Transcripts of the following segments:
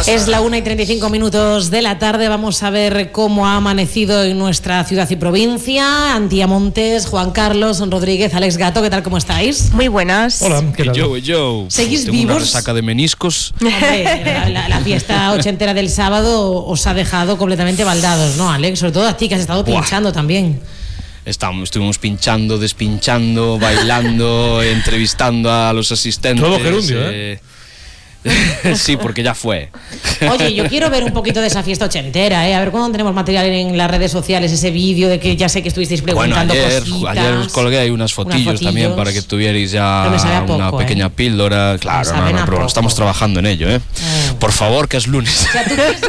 Es la 1:35 de la tarde. Vamos a ver cómo ha amanecido en nuestra ciudad y provincia. Antía Montes, Juan Carlos Rodríguez, Alex Gato, ¿qué tal? ¿Cómo estáis? Muy buenas. Hola, ¿qué tal? Yo. ¿Seguís Tengo vivos? una resaca de meniscos. Hombre, la fiesta ochentera del sábado os ha dejado completamente baldados, ¿no, Alex? Sobre todo a ti, que has estado pinchando también. Estuvimos pinchando, despinchando, bailando, entrevistando a los asistentes. Todo gerundio, ¿eh? Sí, porque ya fue. Oye, yo quiero ver un poquito de esa fiesta ochentera, ¿eh? A ver cuándo tenemos material en las redes sociales, ese vídeo de que ya sé que estuvisteis preguntando cositas. Ayer os colgué ahí unas fotillos también para que tuvierais ya una pequeña píldora. Claro, pero estamos trabajando en ello, ¿eh? Por favor, que es lunes. O sea,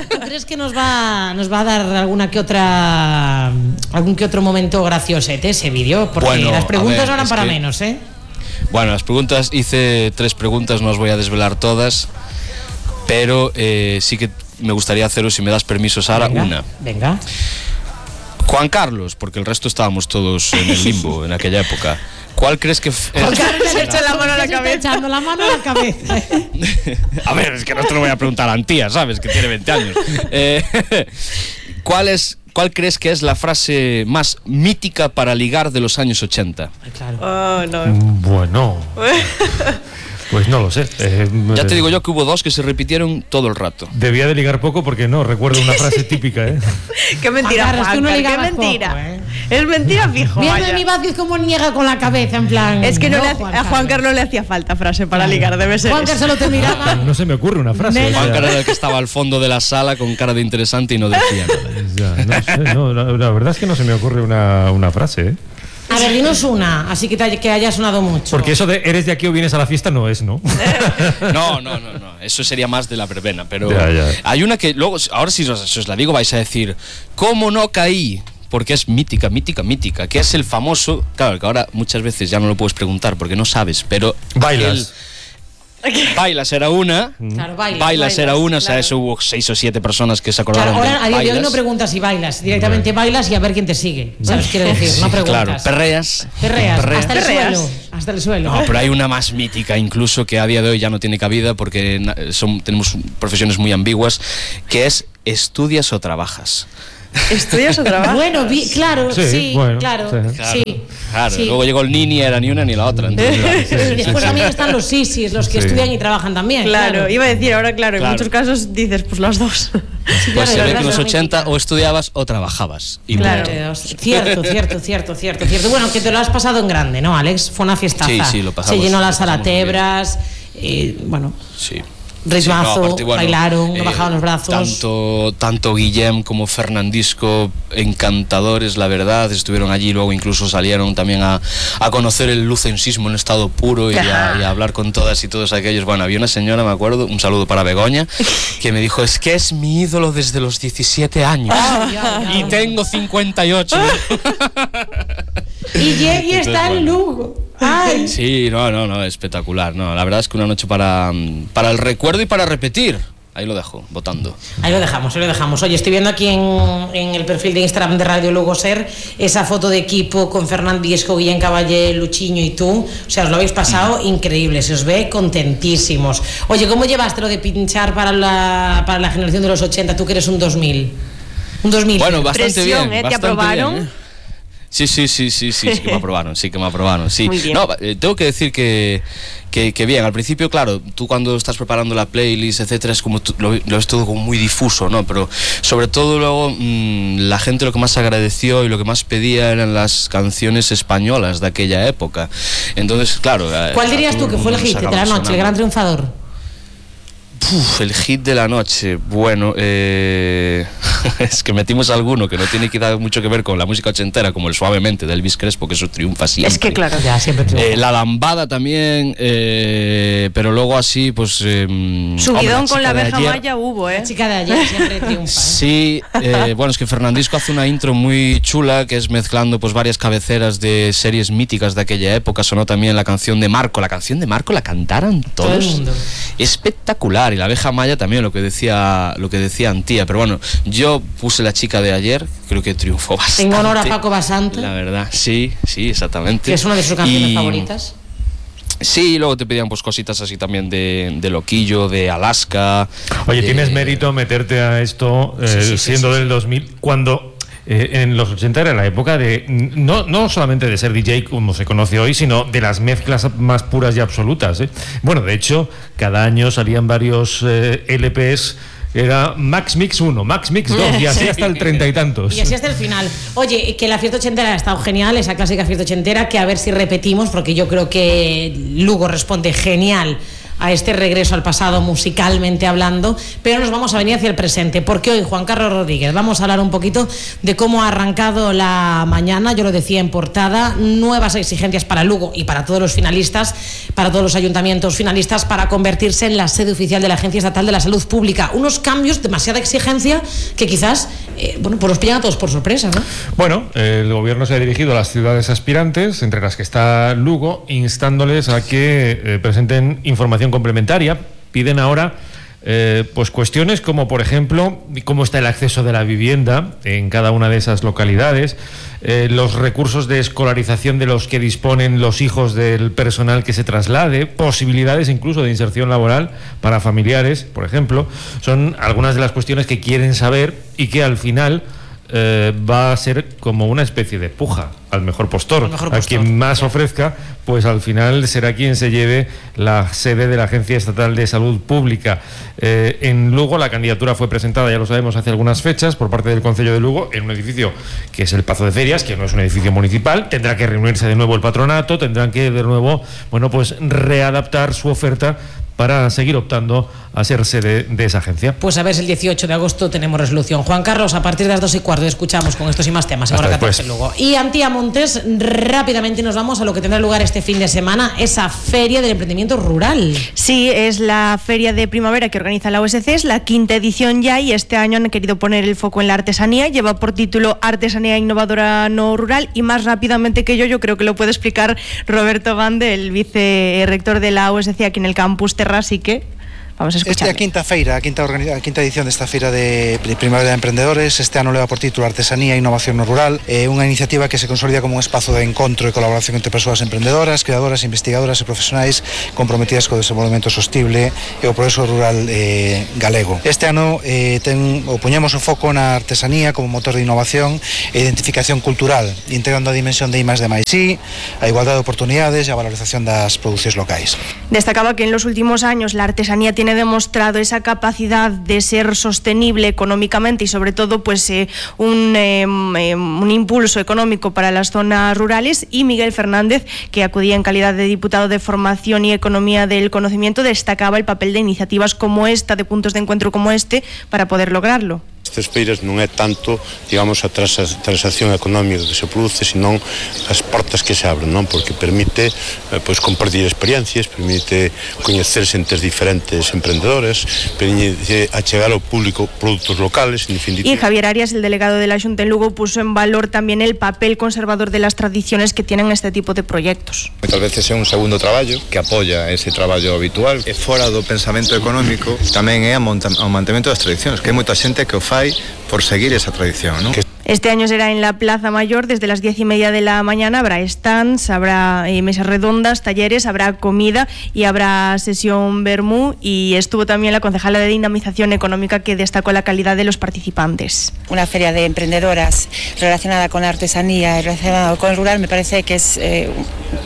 ¿tú crees que nos va a dar algún que otro momento graciosete ese vídeo? Porque las preguntas no eran para menos, ¿eh? Bueno, las preguntas, hice 3 preguntas, no os voy a desvelar todas, pero sí que me gustaría haceros, si me das permiso, Sara, una. Venga. Juan Carlos, porque el resto estábamos todos en el limbo en aquella época. ¿Cuál crees que Juan Carlos se echa la mano a la cabeza. Echando la mano a la cabeza. A ver, es que no te lo voy a preguntar a Antía, ¿sabes? Que tiene 20 años. ¿Cuál crees que es la frase más mítica para ligar de los años 80? Claro. Oh, no. Bueno, pues no lo sé. Ya te digo yo que hubo 2 que se repitieron todo el rato. Debía de ligar poco porque no recuerdo una frase típica, ¿eh? Qué mentira, Juan Carlos, tú no qué ligabas mentira. poco, ¿eh? Es mentira, fijo. Viendo vaya. mi Vázquez como niega con la cabeza, en plan. Es que no a a Juan Carlos le hacía falta frase para ligar, debe ser. Juan Carlos solo te miraba. No se me ocurre una frase. Nena. Juan Carlos era el que estaba al fondo de la sala con cara de interesante y no decía nada. No sé, la verdad es que no se me ocurre una frase, ¿eh? A ver, dinos una, así que haya sonado mucho. Porque eso de eres de aquí o vienes a la fiesta no es, ¿no? No. Eso sería más de la verbena, pero Ya. hay una que luego, ahora si os la digo vais a decir, ¿cómo no caí? Porque es mítica, que es el famoso, claro, que ahora muchas veces ya no lo puedes preguntar porque no sabes, pero Bailas. Bailas era una. Claro, Bailas era una, o sea, claro. eso hubo 6 o 7 personas que se acordaron Claro, ahora de a día de hoy Bailas. no preguntas si bailas, directamente bailas y a ver quién te sigue. ¿Sabes? Quiero decir, no preguntas. Claro, perreas. Perreas, hasta el Perreas. suelo. Hasta el suelo. No, pero hay una más mítica incluso que a día de hoy ya no tiene cabida porque tenemos profesiones muy ambiguas, que es ¿estudias o trabajas? ¿Estudias o trabajas? Bueno, claro, sí, bueno, claro, sí. sí. Claro, Sí. luego llegó el Nini, era ni una ni la otra. Entonces, Y después también están los sisis, los que estudian y trabajan también. Claro, iba a decir ahora, claro, en Claro. muchos casos dices, pues las dos. pues se claro, ve que en los claro. 80 o estudiabas o trabajabas. Y Claro. mucho. Cierto. Bueno, que te lo has pasado en grande, ¿no, Alex? Fue una fiestaza. Sí, lo pasamos. Se llenó la sala Lo pasamos muy Tebras, bueno, Sí. ritmazo, aparte, bueno, bailaron, no bajaban los brazos. Tanto Guillem como Fernandisco, encantadores, la verdad, estuvieron allí, luego incluso salieron también a conocer el lucensismo en estado puro y a hablar con todas y todos aquellos. Bueno, había una señora, me acuerdo, un saludo para Begoña, que me dijo, es que es mi ídolo desde los 17 años y tengo 58. Y Yegi está en Lugo. Ay. Sí, no, espectacular. No, la verdad es que una noche para el recuerdo y para repetir. Ahí lo dejo, votando. Ahí lo dejamos. Oye, estoy viendo aquí en el perfil de Instagram de Radio Lugo Ser esa foto de equipo con Fernandisco, Guillén Caballé, Luchiño y tú. O sea, os lo habéis pasado increíble, se os ve contentísimos. Oye, ¿cómo llevaste lo de pinchar para la generación de los 80? Tú que eres un 2000. Un 2000. Bueno, bastante Presión, bien. ¿te aprobaron? Bien, Sí, que me aprobaron, sí. Muy bien. No, tengo que decir que bien, al principio, claro, tú cuando estás preparando la playlist, etcétera, es como lo ves todo como muy difuso, ¿no? Pero sobre todo luego la gente lo que más agradeció y lo que más pedía eran las canciones españolas de aquella época. Entonces, claro... ¿Cuál dirías tú que fue el hit de la noche, el gran triunfador? El hit de la noche, bueno, es que metimos alguno que no tiene quizá mucho que ver con la música ochentera, como el Suavemente de Elvis Crespo, que eso triunfa siempre. Es que claro. Ya, siempre triunfa. La Lambada también, pero luego así, pues... Subidón con la abeja maya hubo, La chica de ayer siempre triunfa. Sí, bueno, es que Fernandisco hace una intro muy chula, que es mezclando pues varias cabeceras de series míticas de aquella época. Sonó también la canción de Marco. La canción de Marco la cantaron todos. Todo el mundo. Espectacular. Y la abeja maya también, lo que decía Antía. Pero bueno, yo puse La chica de ayer, creo que triunfó bastante. En honor a Paco Basante. La verdad, sí, exactamente. Que es una de sus canciones favoritas. Sí, luego te pedían pues cositas así también de Loquillo, de Alaska. Oye, tienes mérito meterte a esto siendo del 2000, cuando en los 80 era la época de no solamente de ser DJ como se conoce hoy, sino de las mezclas más puras y absolutas, ¿eh? Bueno, de hecho, cada año salían varios LPs. Era Max Mix 1, Max Mix 2 y así hasta el 30 y tantos. Y así hasta el final. Oye, que la fiesta ochentera ha estado genial, esa clásica fiesta ochentera, que a ver si repetimos, porque yo creo que Lugo responde genial a este regreso al pasado musicalmente hablando, pero nos vamos a venir hacia el presente, porque hoy, Juan Carlos Rodríguez, vamos a hablar un poquito de cómo ha arrancado la mañana. Yo lo decía en portada, nuevas exigencias para Lugo y para todos los finalistas, para todos los ayuntamientos finalistas, para convertirse en la sede oficial de la Agencia Estatal de la Salud Pública. Unos cambios, demasiada exigencia, que quizás, pues nos pillan a todos por sorpresa, ¿no? Bueno, el gobierno se ha dirigido a las ciudades aspirantes, entre las que está Lugo, instándoles a que presenten información complementaria. Piden ahora pues cuestiones como, por ejemplo, cómo está el acceso de la vivienda en cada una de esas localidades, los recursos de escolarización de los que disponen los hijos del personal que se traslade, posibilidades incluso de inserción laboral para familiares, por ejemplo. Son algunas de las cuestiones que quieren saber y que al final va a ser como una especie de puja al mejor postor. A quien más ofrezca, pues al final será quien se lleve la sede de la Agencia Estatal de Salud Pública. En Lugo la candidatura fue presentada, ya lo sabemos, hace algunas fechas por parte del Concello de Lugo en un edificio que es el Pazo de Ferias, que no es un edificio municipal. Tendrá que reunirse de nuevo el patronato, tendrán que de nuevo, bueno, pues readaptar su oferta para seguir optando a ser sede de esa agencia. Pues a ver si el 18 de agosto tenemos resolución. Juan Carlos, a partir de las 2:15 escuchamos con estos y más temas. Ahora 14 Lugo. Y Antía Montes, rápidamente nos vamos a lo que tendrá lugar este fin de semana, esa Feria del Emprendimiento Rural. Sí, es la feria de primavera que organiza la OSC, es la 5ª edición ya, y este año han querido poner el foco en la artesanía. Lleva por título Artesanía Innovadora No Rural, y más rápidamente que yo creo que lo puede explicar Roberto Bande, el vicerrector de la OSC aquí en el campus Terra, así que vamos a escuchar. Esta a quinta edición desta feira de Primavera de Emprendedores. Este ano leva por título Artesanía e Innovación no Rural, unha iniciativa que se consolida como un espazo de encontro e colaboración entre persoas emprendedoras, creadoras, investigadoras e profesionais comprometidas co desenvolvemento sostible e o progreso rural galego. Este ano poñemos o foco na artesanía como motor de innovación e identificación cultural, integrando a dimensión de I+D+I, a igualdade de oportunidades e a valorización das producións locais. Destacaba que en los últimos años la artesanía tiene demostrado esa capacidad de ser sostenible económicamente y sobre todo pues un impulso económico para las zonas rurales. Y Miguel Fernández, que acudía en calidad de diputado de Formación y Economía del Conocimiento, destacaba el papel de iniciativas como esta, de puntos de encuentro como este, para poder lograrlo. Estas feiras non é tanto, digamos, a transacción económica que se produce, senón as portas que se abren, non? Porque permite pois compartir experiencias, permite coñecerse entre diferentes emprendedores, permite achegar ao público produtos locales, en definitiva. Y Javier Arias, el delegado de la Xunta en Lugo, puso en valor también el papel conservador de las tradiciones que tienen este tipo de proyectos. Tal veces é un segundo traballo que apoia ese traballo habitual, e fora do pensamento económico tamén é o mantemento das tradicións, que hai moita xente que o fai por seguir esa tradición, ¿no? Este año será en la Plaza Mayor desde las 10:30 de la mañana. Habrá stands, habrá mesas redondas, talleres, habrá comida y habrá sesión vermú. Y estuvo también la concejala de Dinamización Económica, que destacó la calidad de los participantes. Una feria de emprendedoras relacionada con la artesanía y relacionada con el rural me parece que es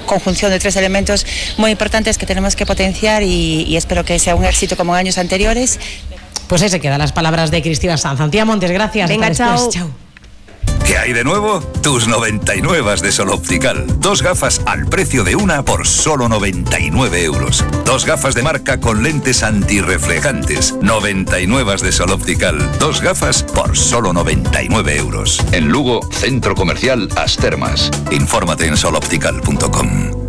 conjunción de tres elementos muy importantes que tenemos que potenciar y espero que sea un éxito como en años anteriores. Pues ahí se quedan las palabras de Cristina Sanz. Antía Montes, gracias. Venga, chao. ¿Qué hay de nuevo? Tus 99 de Sol Optical. 2 gafas al precio de una por solo 99 euros. 2 gafas de marca con lentes antirreflejantes. 99 de Sol Optical. 2 gafas por solo 99 euros. En Lugo, Centro Comercial As Termas. Infórmate en soloptical.com.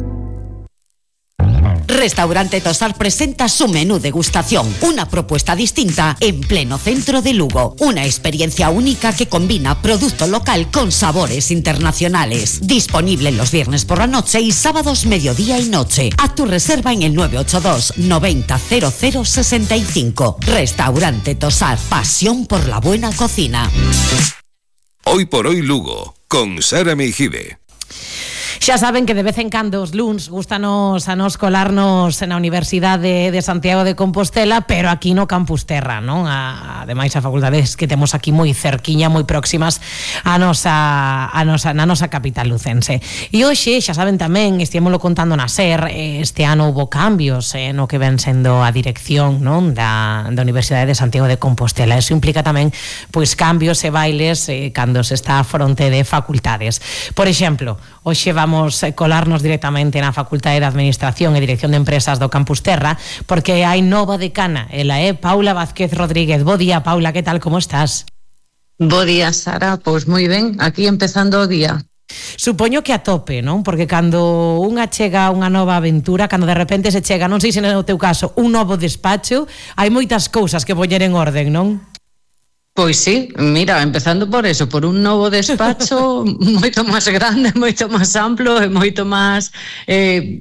Restaurante Tosar presenta su menú degustación, una propuesta distinta en pleno centro de Lugo. Una experiencia única que combina producto local con sabores internacionales. Disponible los viernes por la noche y sábados mediodía y noche. Haz tu reserva en el 982 90 00 65. Restaurante Tosar, pasión por la buena cocina. Hoy por hoy Lugo, con Sara Meijide. Xa saben que de vez en cando os luns gustanos a nos colarnos na Universidade de Santiago de Compostela, pero aquí no Campus Terra, non? Ademais, a facultades que temos aquí moi cerquiña, moi próximas na nosa capital lucense. E hoxe, xa saben tamén, estiémolo contando na SER, este ano houve cambios no que ven sendo a dirección, non? Da Universidade de Santiago de Compostela. Eso implica tamén pois cambios e bailes cando se está a fronte de facultades. Por exemplo, hoxe vamos colarnos directamente na Facultade de Administración e Dirección de Empresas do Campus Terra, porque hai nova decana, ela é Paula Vázquez Rodríguez. Bo día, Paula, que tal, como estás? Bo día, Sara, pois moi ben, aquí empezando o día. Supoño que a tope, non? Porque cando unha chega a unha nova aventura, cando de repente se chega, non sei se no teu caso, un novo despacho, hai moitas cousas que poñer en orden, non? Pois sí, mira, empezando por eso, por un novo despacho moito máis grande, moito máis amplo e moito máis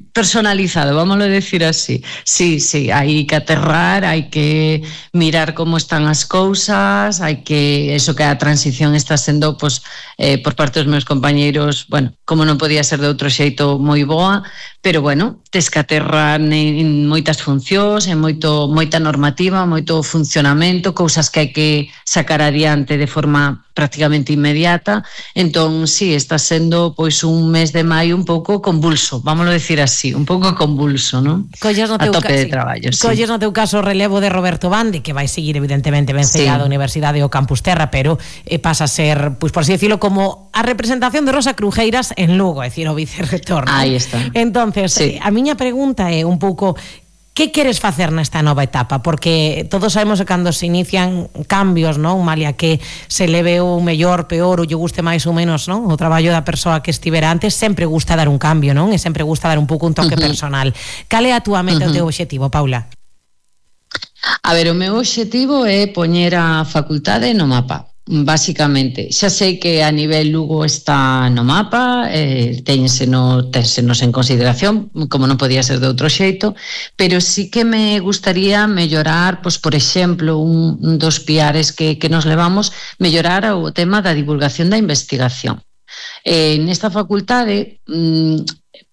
personalizado, vámoslo decir así. Sí, hai que aterrar, hai que mirar como están as cousas, hai que, eso que a transición está sendo, pues, por parte dos meus compañeiros, bueno, como non podía ser de outro xeito, moi boa, pero bueno, tes que aterrar en moitas funcións, en moita normativa, moito funcionamento, cousas que hai que sacar adiante de forma prácticamente inmediata. Entón, sí, está sendo pois un mes de maio un pouco convulso, vámoslo decir así, un pouco convulso, non? A tope de traballo, sí. Colles no teu caso o relevo de Roberto Bandi, que vai seguir evidentemente ben cellado a Universidade o Campus Terra, pero pasa a ser, pois por así decirlo, como a representación de Rosa Crujeiras en Lugo, é dicir, o vicerrector, non? Aí está. Entonces, a miña pregunta é un pouco: que queres facer nesta nova etapa? Porque todos sabemos que cando se inician cambios, non? Malia que se leve o mellor, peor, ou lle guste máis ou menos, non? O traballo da persoa que estivera antes, sempre gusta dar un cambio, non? E sempre gusta dar un pouco un toque personal. Cal é a túa meta, o teu obxectivo, Paula? A ver, o meu obxectivo é poñer a facultade no mapa. Básicamente, xa sei que a nivel Lugo está no mapa, ténsenos en consideración, como non podía ser de outro xeito, pero sí que me gustaría mellorar, pois, por exemplo, un dos piares que nos levamos, mellorar o tema da divulgación da investigación. Nesta facultade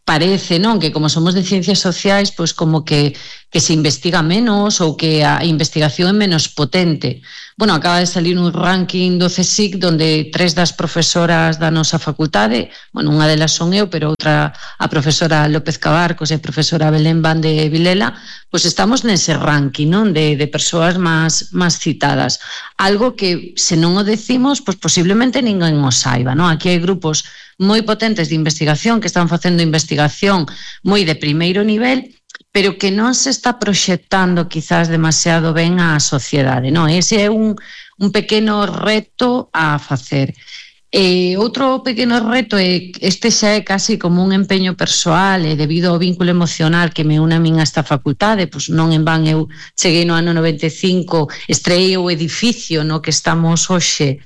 parece, non, que como somos de ciencias sociais, pois como que se investiga menos ou que a investigación é menos potente. Bueno, acaba de salir un ranking do CSIC donde 3 das profesoras da nosa facultade, bueno, unha delas son eu, pero outra a profesora López Cabarcos e a profesora Belén Van de Vilela, pois estamos nese ranking, non, de persoas máis citadas. Algo que, se non o decimos, pois posiblemente ninguén o saiba, non? Aquí hai grupos moi potentes de investigación que están facendo investigación moi de primeiro nivel, pero que non se está proxectando quizás demasiado ben á sociedade, non? Ese é un pequeno reto a facer. Outro pequeno reto é, este xa é casi como un empeño persoal e debido ao vínculo emocional que me une a min a esta facultade, pois non en van eu cheguei no ano 95, estreei o edificio no que estamos hoxe.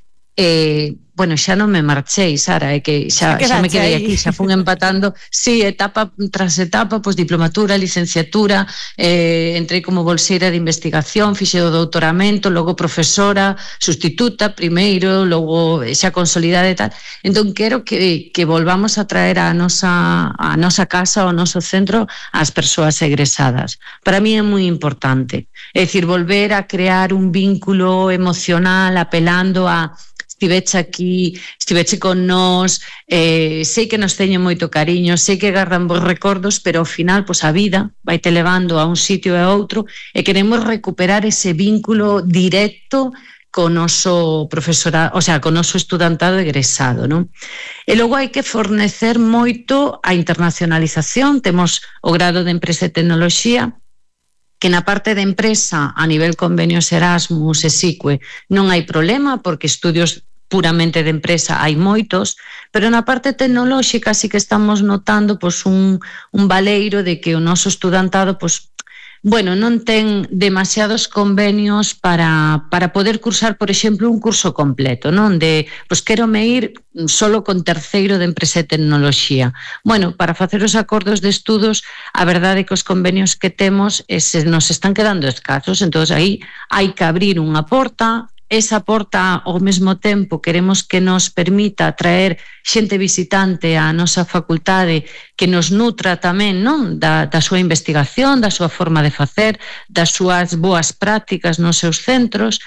Bueno, xa non me marchei, Sara, é que xa me quedei aquí, xa fun empatando, sí, etapa tras etapa, pois diplomatura, licenciatura, entrei como bolseira de investigación, fixe o doutoramento, logo profesora, sustituta primeiro, logo xa consolidada e tal. Entón quero que volvamos a traer a nosa casa, ao noso centro, as persoas egresadas. Para mí é moi importante, é dicir, volver a crear un vínculo emocional apelando a estiveche con nós, sei que nos teñen moito cariño, sei que gardan bons recordos, pero ao final, pois, a vida vai te levando a un sitio e a outro e queremos recuperar ese vínculo directo co noso profesorado, o sea, co noso estudantado egresado, non? E logo hai que fornecer moito a internacionalización, temos o grado de Empresa e Tecnoloxía, que na parte de empresa, a nivel convenios Erasmus e SICUE, non hai problema, porque estudios puramente de empresa hai moitos, pero na parte tecnolóxica sí que estamos notando pois, un baleiro de que o noso estudantado pois, bueno, non ten demasiados convenios para poder cursar, por exemplo, un curso completo, non? De, pois quero me ir solo con terceiro de Empresa e Tecnoloxía. Bueno, para facer os acordos de estudos, a verdade é que os convenios que temos se nos están quedando escasos, entón aí hai que abrir unha porta esa porta ao mesmo tempo queremos que nos permita atraer xente visitante á nosa facultade que nos nutra tamén, non? Da súa investigación, da súa forma de facer, das súas boas prácticas nos seus centros.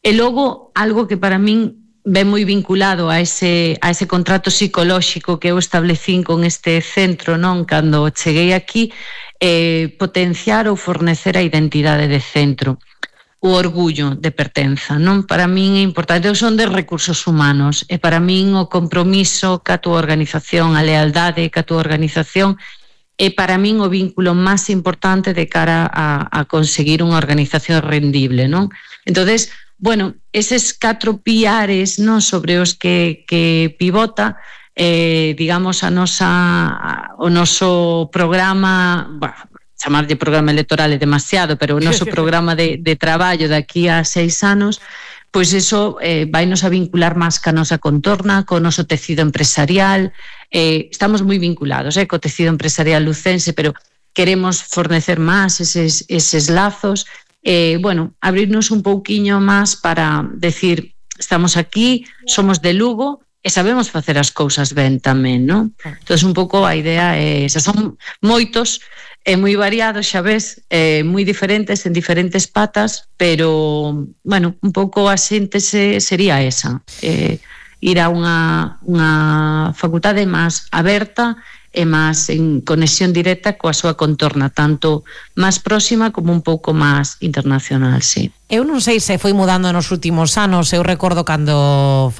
E logo, algo que para min ven moi vinculado a ese contrato psicolóxico que eu establecín con este centro, non? Cando cheguei aquí, potenciar ou fornecer a identidade de centro, o orgullo de pertenza, non? Para min é importante, eu son de recursos humanos e para min o compromiso ca túa organización, a lealdade ca túa organización é para min o vínculo máis importante de cara a conseguir unha organización rendible, non? Entonces, bueno, eses 4 piares, non, sobre os que pivota, digamos, o noso programa, chamarlle programa electoral é demasiado, pero o noso programa de traballo de aquí a 6 anos, pois iso vainos a vincular máis ca nosa contorna, co noso tecido empresarial. Estamos moi vinculados co tecido empresarial lucense, pero queremos fornecer máis eses lazos. Bueno, abrirnos un pouquiño máis para decir, estamos aquí, somos de Lugo, e sabemos facer as cousas ben tamén, non? Entón, un pouco a idea é esa. Son moitos e moi variados, xa ves, moi diferentes en diferentes patas, pero, bueno, un pouco a síntese sería esa. Ir a unha facultade máis aberta e máis en conexión directa coa súa contorna, tanto máis próxima como un pouco máis internacional, sí. Eu non sei se foi mudando nos últimos anos. Eu recordo cando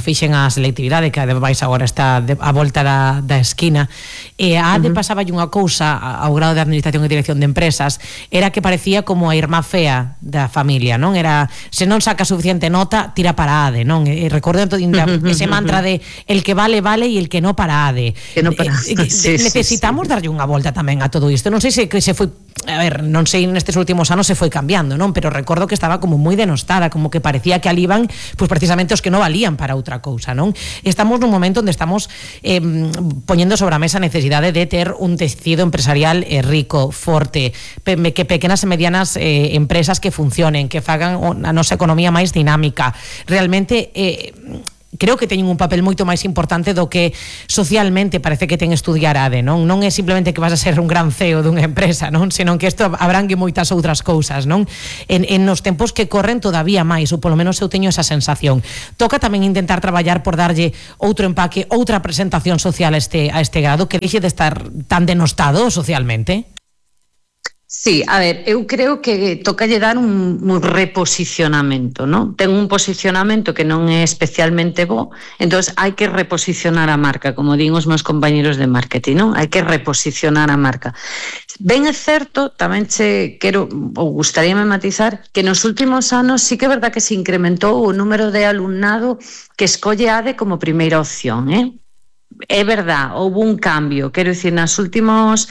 fixen a selectividade, que ademais agora está a volta da esquina, e a ADE pasaba unha cousa ao grado de Administración e Dirección de Empresas, era que parecía como a irmá fea da familia, non? Era, se non saca suficiente nota, tira para a ADE, non? E recordo ese mantra de el que vale, vale, e el que no para a ADE. Necesitamos darlle unha volta tamén a todo isto. Non sei se foi, a ver, non sei nestes últimos anos se foi cambiando, non? Pero recordo que estaba como moi denostada, como que parecía que ali iban pues precisamente os que non valían para outra cousa, non? Estamos nun momento onde estamos poñendo sobre a mesa a necesidade de ter un tecido empresarial rico, forte, que pequenas e medianas empresas que funcionen, que fagan a nosa economía máis dinámica. Realmente creo que teñen un papel moito máis importante do que socialmente parece que ten estudiar ADE, non? Non é simplemente que vas a ser un gran CEO dunha empresa, non? Senón que isto abrangue moitas outras cousas, non? En nos tempos que corren todavía máis, ou polo menos eu teño esa sensación. Toca tamén intentar traballar por darlle outro empaque, outra presentación social a este grado, que deixe de estar tan denostado socialmente. Sí, a ver, eu creo que toca lle dar un reposicionamento, non? Ten un posicionamento que non é especialmente bo, entón hai que reposicionar a marca, como din os meus compañeros de marketing, non? Hai que reposicionar a marca. Ben é certo, tamén quero, ou gustaríame matizar, que nos últimos anos sí que é verdad que se incrementou o número de alumnado que escolle ADE como primeira opción, É verdad, houve un cambio, quero dicir, nas últimas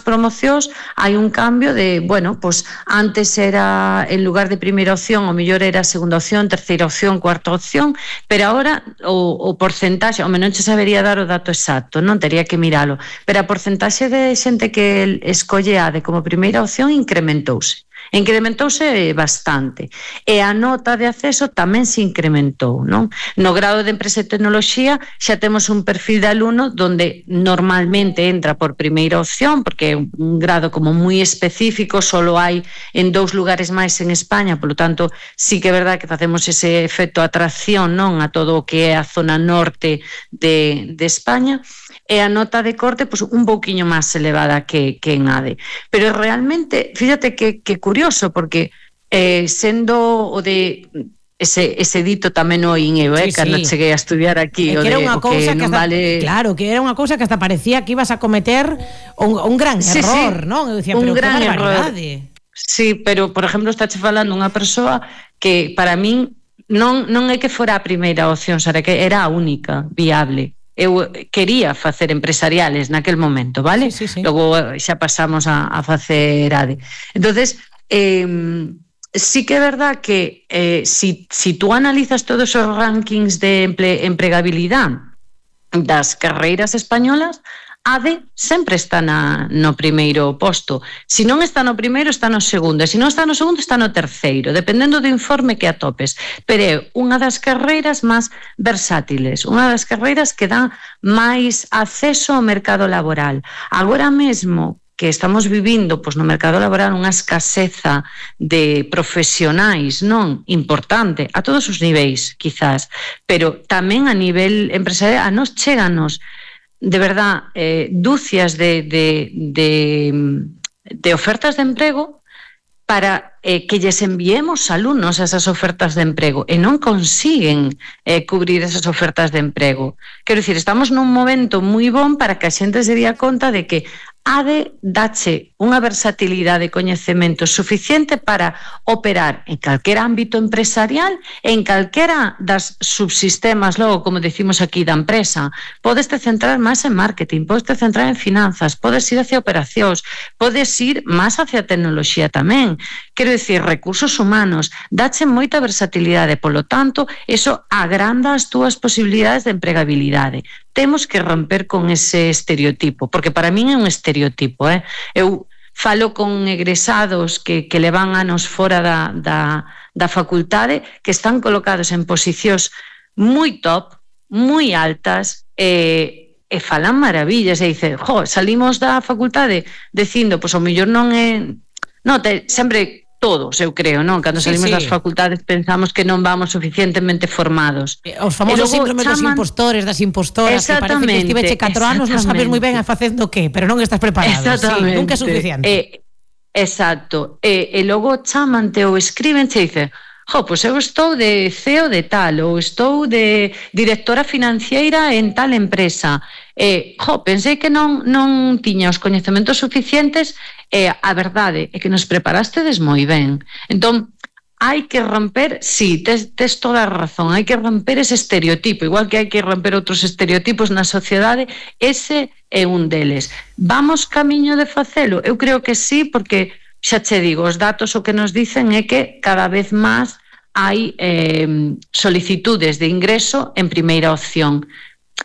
promocións hai un cambio de, bueno, pues antes era en lugar de primeira opción, o mellor era segunda opción, terceira opción, cuarta opción, pero agora o porcentaxe, o non che sabería dar o dato exacto, non tería que miralo, pero a porcentaxe de xente que escolle ADE como primeira opción incrementouse bastante, e a nota de acceso tamén se incrementou, non? No grado de Empresa e Tecnoloxía xa temos un perfil de alumno donde normalmente entra por primeira opción, porque é un grado como moi específico, solo hai en 2 lugares máis en España, polo tanto sí que é verdad que facemos ese efecto atracción, non, a todo o que é a zona norte de España, e a nota de corte pues, un pouquiño máis elevada que en ADE. Pero realmente, fíjate que curioso, porque sendo o de ese dito tamén o INEO, cando cheguei a estudiar aquí, que era unha cousa que hasta, claro, que era unha cousa que hasta parecía que ibas a cometer un gran error, non? Eu dicía, pero que barbaridade. Sí, pero, por exemplo, estáche falando unha persoa que para min non é que fora a primeira opción, Sara, que era a única viable. Eu quería facer empresariales naquel momento, vale? Sí. Logo xa pasamos a facer ADE. Entonces, sí que é verdad que si tú analizas todos os rankings de empregabilidade das carreiras españolas, ADE sempre está no primeiro posto. Se non está no primeiro, está no segundo. E se non está no segundo, está no terceiro, dependendo do informe que atopes. Pero é unha das carreiras máis versátiles, unha das carreiras que dan máis acceso ao mercado laboral. Agora mesmo que estamos vivindo no mercado laboral unha escaseza de profesionais non importante a todos os niveis, quizás, pero tamén a nivel empresarial, a nos cheganos de verdad dúcias de ofertas de emprego para que lles enviemos alumnos a esas ofertas de emprego e non consiguen cubrir esas ofertas de emprego. Quero dicir, estamos nun momento moi bon para que a xente se día conta de que ADE dache unha versatilidade de coñecemento suficiente para operar en calquera ámbito empresarial e en calquera das subsistemas, logo, como decimos aquí, da empresa. Podes te centrar máis en marketing, podes te centrar en finanzas, podes ir hacia operacións, podes ir máis hacia tecnoloxía tamén. Quero dicir, recursos humanos, dache moita versatilidade, polo tanto, eso agranda as túas posibilidades de empregabilidade. Temos que romper con ese estereotipo, porque para min é un estereotipo. Eu falo con egresados que levan anos fora da facultade, que están colocados en posicións moi top, moi altas, e falan maravillas, e dicen, salimos da facultade dicindo, pois o mellor non é... Non, sempre... todos, eu creo, non? Cando salimos das facultades pensamos que non vamos suficientemente formados. Os famosos síndromes dos impostores, das impostoras, que parece que estiveche 4 anos, non sabes moi ben a facendo que, pero non estás preparado. Sí, nunca é suficiente. Exacto. E logo chamante ou escribenche e dice, pois eu estou de CEO de tal, ou estou de directora financiera en tal empresa. Pensei que non tiña os coñecementos suficientes, e a verdade é que nos preparastedes moi ben. Entón, hai que romper, tes toda a razón, hai que romper ese estereotipo, igual que hai que romper outros estereotipos na sociedade, ese é un deles. Vamos camiño de facelo? Eu creo que sí, porque xa che digo, os datos o que nos dicen é que cada vez máis hai solicitudes de ingreso en primeira opción.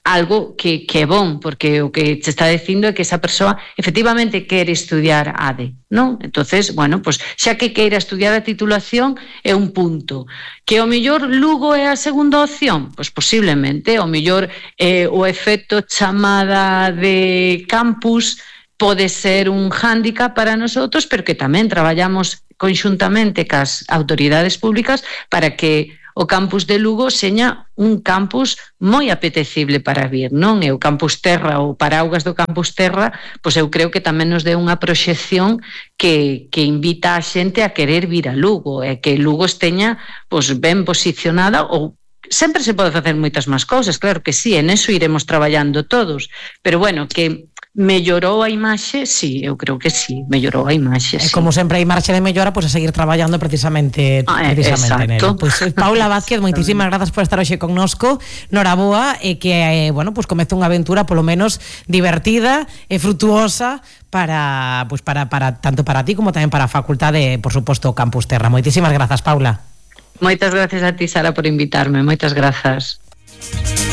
Algo que é bon, porque o que se está dicindo é que esa persoa efectivamente quere estudiar ADE, non? Entonces, bueno, pues xa que queira estudiar a titulación é un punto. Que o mellor Lugo é a segunda opción? Pois posiblemente, o mellor o efecto chamada de campus pode ser un hándicap para nosotros, pero que tamén traballamos conxuntamente cas autoridades públicas para que o campus de Lugo seña un campus moi apetecible para vir, non? E o campus Terra, o paraugas do campus Terra, pois eu creo que tamén nos dé unha proxección que invita a xente a querer vir a Lugo, e que Lugo esteña pois ben posicionada, ou sempre se pode facer moitas máis cousas, claro que sí, en eso iremos traballando todos, pero bueno, que mellorou a imaxe, sí, eu creo que sí, mellorou a imaxe, sí. Como sempre hai marcha de mellora, pois a seguir traballando precisamente nela. Pois Paula Vázquez, moitísimas grazas por estar hoxe connosco, noraboa, e que, bueno, pois comece unha aventura polo menos divertida e frutuosa para tanto para ti como tamén para a facultade, por suposto, Campus Terra. Moitísimas grazas, Paula. Moitas grazas a ti, Sara, por invitarme. Moitas grazas.